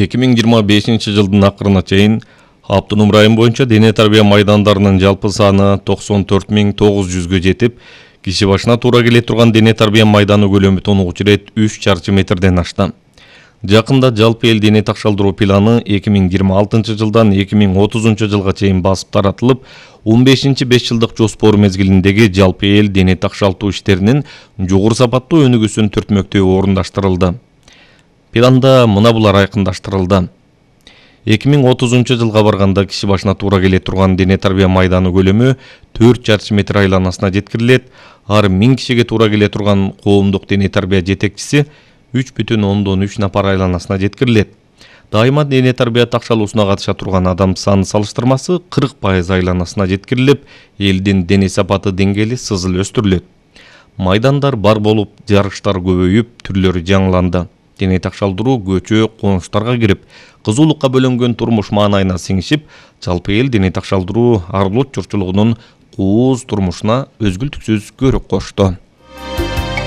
2025 жылдын акырына чейин Автоном район боюнча дене тарбия майдандарынын жалпы саны 94.900 жетип, киши башына туура келе турган дене тарбия майданы көлөмү тонугучу ирет 3 чарчы метрден ашты. Жакында жалпы эл дене такшалдыруу планы 2026 жылдан 2030 жылга чейин басып таратылып, 15-5 жылдык жоспор мезгилиндеги жалпы эл дене такшалтуу иштеринин жогору сапаттуу өнүгүүсүн түртмөктөө орундаштырылды. Планда мына булар айкындаштырылды. 2030 жылга барганда киши башына туура келе турган дене тарбия майданы көлөмү 4 чарчы метр айланасына жеткирилет. Ар 1000 кишиге туура келе турган коомдук дене тарбия жетекчиси 3,3 напар айланасына жеткирилет. Дайыма дене тарбия такшалуусуна катыша турган адам саны салыштырмасы 40% айланасына жеткирилип, элдин дене сапаты деңгээли сызыл өстүрүлөт. Майдандар бар болуп, жарыштар көбөйүп, түрлөрү жаңыланды. Дене такшалдыруу көчө, конуштарга кирип, кызуулукка бөлөнгөн турмуш маанайына сиңишип, жалпы эл дене такшалдыруу ар улут журтчулугунун кооз турмушуна өзгүлтүксүз көрөк кошту.